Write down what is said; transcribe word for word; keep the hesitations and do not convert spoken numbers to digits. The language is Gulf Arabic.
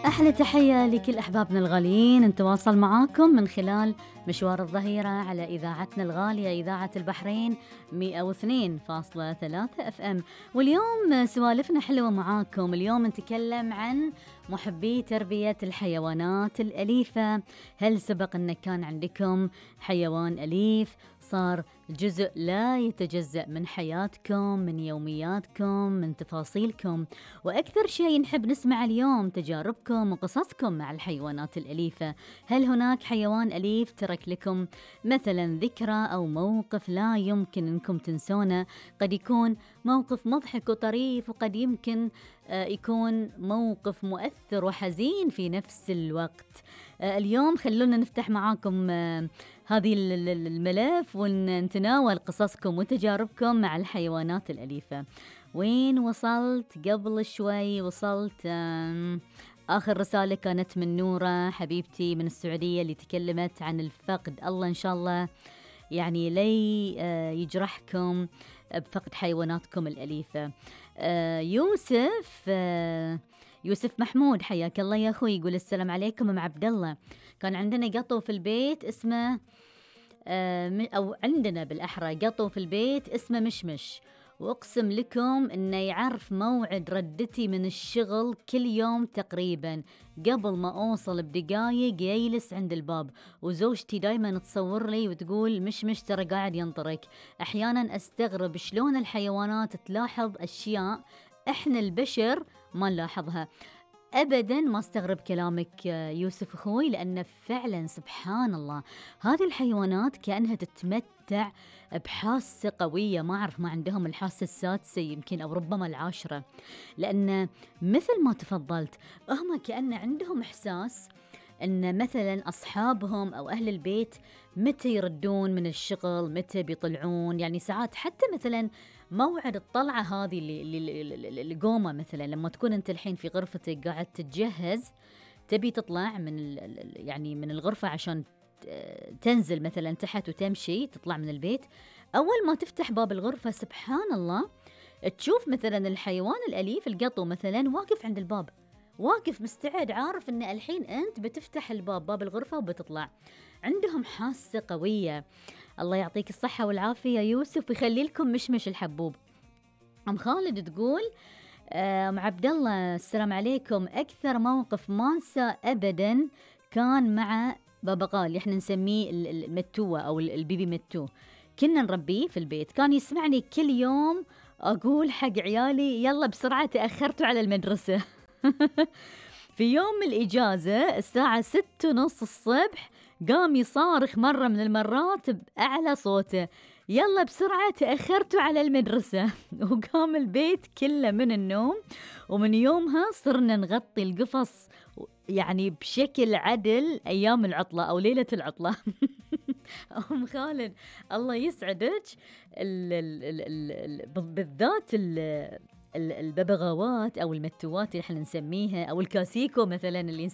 أحلى تحية لكل أحبابنا الغاليين، نتواصل معاكم من خلال مشوار الظهيرة على إذاعتنا الغالية إذاعة البحرين مئة واثنين فاصلة ثلاثة أف أم. واليوم سوالفنا حلوة معاكم. اليوم نتكلم عن محبي تربية الحيوانات الأليفة. هل سبق أن كان عندكم حيوان أليف صار جزء لا يتجزأ من حياتكم، من يومياتكم، من تفاصيلكم؟ وأكثر شيء نحب نسمع اليوم تجاربكم وقصصكم مع الحيوانات الأليفة. هل هناك حيوان أليف ترك لكم مثلا ذكرى أو موقف لا يمكن أنكم تنسونه؟ قد يكون موقف مضحك وطريف، وقد يمكن يكون موقف مؤثر وحزين في نفس الوقت. اليوم خلونا نفتح معاكم هذه الملف ونتناول قصصكم وتجاربكم مع الحيوانات الأليفة. وين وصلت قبل شوي؟ وصلت آخر رسالة كانت من نورة حبيبتي من السعودية اللي تكلمت عن الفقد. الله إن شاء الله يعني لي يجرحكم بفقد حيواناتكم الأليفة. يوسف يوسف محمود حياك الله يا أخوي، يقول السلام عليكم أم عبد الله. كان عندنا قطو في البيت اسمه أو عندنا بالأحرى قطو في البيت اسمه مشمش، وأقسم لكم إنه يعرف موعد ردتي من الشغل كل يوم تقريبا، قبل ما أوصل بدقايق يجلس عند الباب. وزوجتي دايما تصور لي وتقول مش مش ترى قاعد ينطرك. أحيانا أستغرب شلون الحيوانات تلاحظ أشياء إحنا البشر ما نلاحظها. أبداً ما استغرب كلامك يوسف أخوي، لأن فعلاً سبحان الله هذه الحيوانات كأنها تتمتع بحاسة قوية. ما أعرف ما عندهم الحاسة السادسة يمكن أو ربما العاشرة، لأن مثل ما تفضلت هم كأن عندهم إحساس أن مثلاً أصحابهم أو أهل البيت متى يردون من الشغل، متى بيطلعون. يعني ساعات حتى مثلاً موعد الطلعة هذه اللي القومة مثلاً لما تكون أنت الحين في غرفتك قاعد تتجهز تبي تطلع من يعني من الغرفة عشان تنزل مثلاً تحت وتمشي تطلع من البيت، أول ما تفتح باب الغرفة سبحان الله تشوف مثلاً الحيوان الأليف القطو مثلاً واقف عند الباب، واقف مستعد، عارف أن الحين أنت بتفتح الباب باب الغرفة وبتطلع. عندهم حاسة قوية. الله يعطيك الصحة والعافية يوسف ويخلي لكم مشمش الحبوب. أم خالد تقول أم عبد الله السلام عليكم، أكثر موقف ما انسى أبدا كان مع بابغال، احنا نسميه المتوة أو البيبي متو، كنا نربيه في البيت. كان يسمعني كل يوم أقول حق عيالي يلا بسرعة تأخرتوا على المدرسة. في يوم الإجازة الساعة ستة ونص الصبح قام يصارخ مرة من المرات بأعلى صوته يلا بسرعة تأخرتوا على المدرسة. وقام البيت كله من النوم. ومن يومها صرنا نغطي القفص يعني بشكل عدل أيام العطلة أو ليلة العطلة. أم خالد الله يسعدك، بالذات الببغاوات أو المتوات اللي احنا نسميها أو الكاسيكو مثلا اللي نسميها